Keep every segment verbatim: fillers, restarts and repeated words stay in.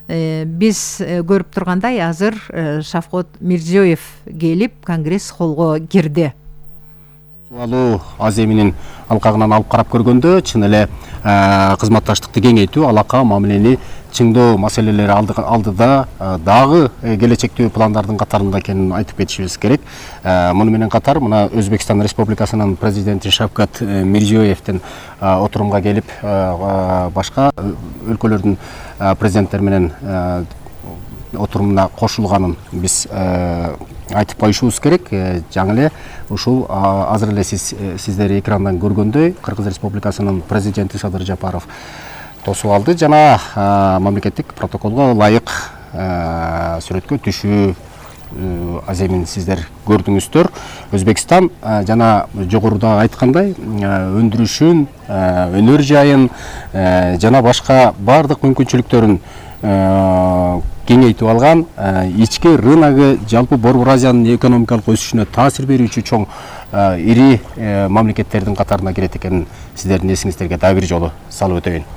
Биз көрүп тургандай азыр Шавкат Мирзиёев келип Конгресс холлго кирди. Суалуу Азия менен алкагынан алып карап көргөндө чын эле кызматташтыкты кеңейтүү, алака мамилени чыңдоо маселелери алдыда дагы келечектүү пландардын катарында экенин айтып кетишибиз керек. Муну менен катар мына Өзбекстан Республикасынын президенти Шавкат Мирзиёевдин отурумга келип башка өлкөлөрдүн президенттери менен отурумуна кошулганын биз айтып коюшубуз керек. Жаңы эле ушул азыр эле сиз сиздер экрандан көргөндөй Кыргыз Республикасынын президенти Садыр Жапаров тосуп алды жана мамлекеттик протоколго ылайык сүрөткө түшүү аземин сиздер көрдүңүздөр. Өзбекстан жана жогоруда айткандай өндүрүшүн, өнөр жайын жана башка бардык мүмкүнчүлүктөрүн кеңейтип алган, ички рыногу жалпы Борбор Азиянын экономикалык өсүшүнө таасир берүүчү чоң ири мамлекеттердин катарына кирет экенин сиздердин эсиңиздерге дагы бир жолу салып өтөйүн.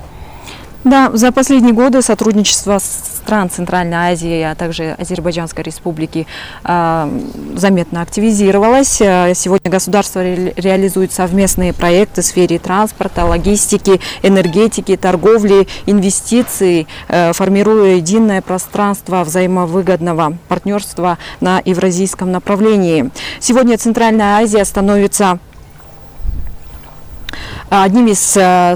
Да, за последние годы сотрудничество стран Центральной Азии, а также Азербайджанской Республики э, заметно активизировалось. Сегодня государство ре реализует совместные проекты в сфере транспорта, логистики, энергетики, торговли, инвестиций, э, формируя единое пространство взаимовыгодного партнерства на евразийском направлении. Сегодня Центральная Азия становится одним из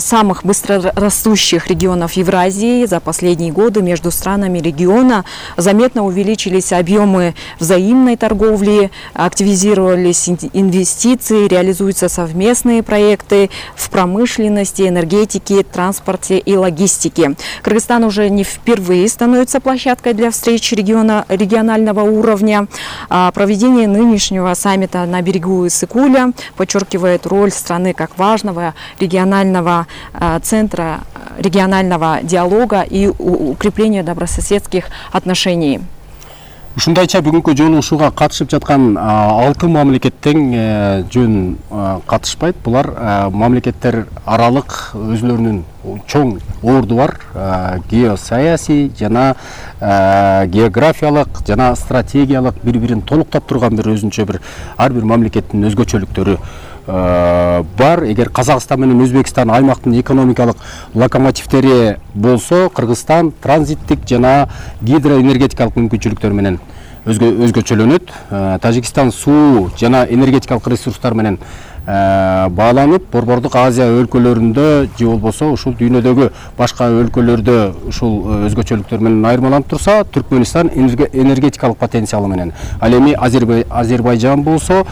самых быстрорастущих регионов Евразии. За последние годы между странами региона заметно увеличились объемы взаимной торговли, активизировались инвестиции, реализуются совместные проекты в промышленности, энергетике, транспорте и логистике. Кыргызстан уже не впервые становится площадкой для встреч региона, регионального уровня. Проведение нынешнего саммита на берегу Иссык-Куля подчеркивает роль страны как важного регионального э, центра регионального диалога и укрепления добрососедских отношений. Ушундайча бүгүнкү жолугушууга катышып жаткан алты мамлекеттен жөн катышпайт. Булар мамлекеттер аралык өзлөрүнүн чоң орду бар, геосаясий жана географиялык жана стратегиялык бири-бирин толуктап турган бир өзүнчө бир ар бир мамлекеттин өзгөчөлүктөрү бар. Эгер Казакстан менен Өзбекстан аймактын экономикалык локомотивдери болсо, Кыргызстан транзиттик жана гидроэнергетикалык мүмкүнчүлүктөр менен өзгөчөлөнөт. Тажикстан суу жана энергетикалык ресурстар менен бааланып, Борбордук Азия өлкөлөрүндө же болбосо ушул дүйнөдөгү башка өлкөлөрдө ушул өзгөчөлүктөр менен айырмаланып турса, Түркмөнстан энергетикалык потенциалы менен. Ал эми Азербайжан болсо,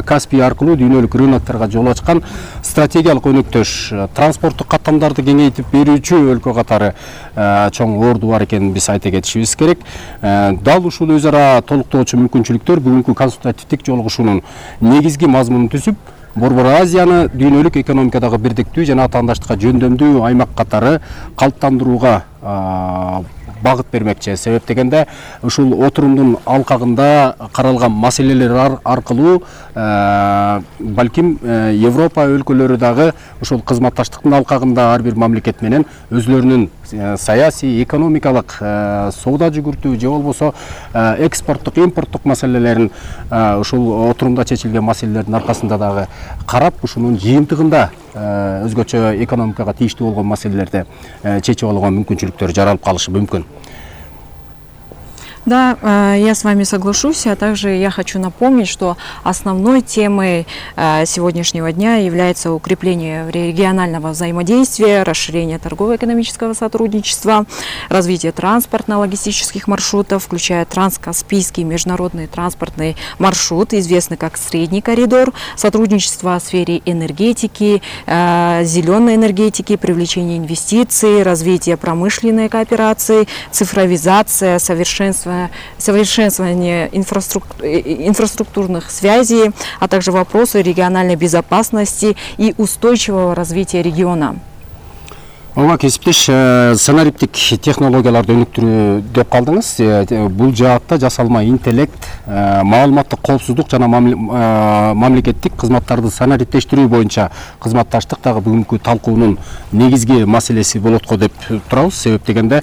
Каспий аркылуу дүйнөлүк рынокторго жол ачкан стратегиялык өнөктөш, транспорттук каттамдарды кеңейтип берүүчү өлкө катары чоң орду бар экенин биз айта кетишибиз керек. Дал ушул өз ара толуктоочу мүмкүнчүлүктөр бүгүнкү консультативдик жолугушуунун негизги мазмунун түзүп, Борбор Азияны дүйнөлүк экономикадагы бирдиктүү жана атаандаштыкка жөндөмдүү аймак катары калыптандырууга багыт бермекчи. Себеп дегенде ушул отурумдун алкагында каралган маселелер аркылуу балким Европа өлкөлөрү дагы ушул кызматташтыктын алкагында ар бир мамлекет менен өзлөрүнүн саясий, экономикалык, соода жүгүртүү же болбосо экспорттук, импорттук маселелерин ушул отурумда чечилген маселелердин аркасында дагы карап, ушунун жыйынтыгында өзгөчө экономикага тийиштүү болгон маселелерди чечип алууга мүмкүнчүлүктөр жаралып калышы мүмкүн. Да, я с вами соглашусь, а также я хочу напомнить, что основной темой сегодняшнего дня является укрепление регионального взаимодействия, расширение торгово-экономического сотрудничества, развитие транспортно-логистических маршрутов, включая транскаспийский международный транспортный маршрут, известный как Средний коридор, сотрудничество в сфере энергетики, зеленой энергетики, привлечение инвестиций, развитие промышленной кооперации, цифровизация, совершенствование совершенствование инфраструктур, инфраструктурных связей, а также вопросы региональной безопасности и устойчивого развития региона. Ооба кесиптеш санариптик технологияларды өнүктүрүү деп калдыңыз. Бул жаатта жасалма интеллект, маалыматтык коопсуздук жана мамлекеттик кызматтарды санариптештирүү боюнча кызматташтык дагы бүгүнкү талкуунун негизги маселеси болот го деп турабыз. Себеп дегенде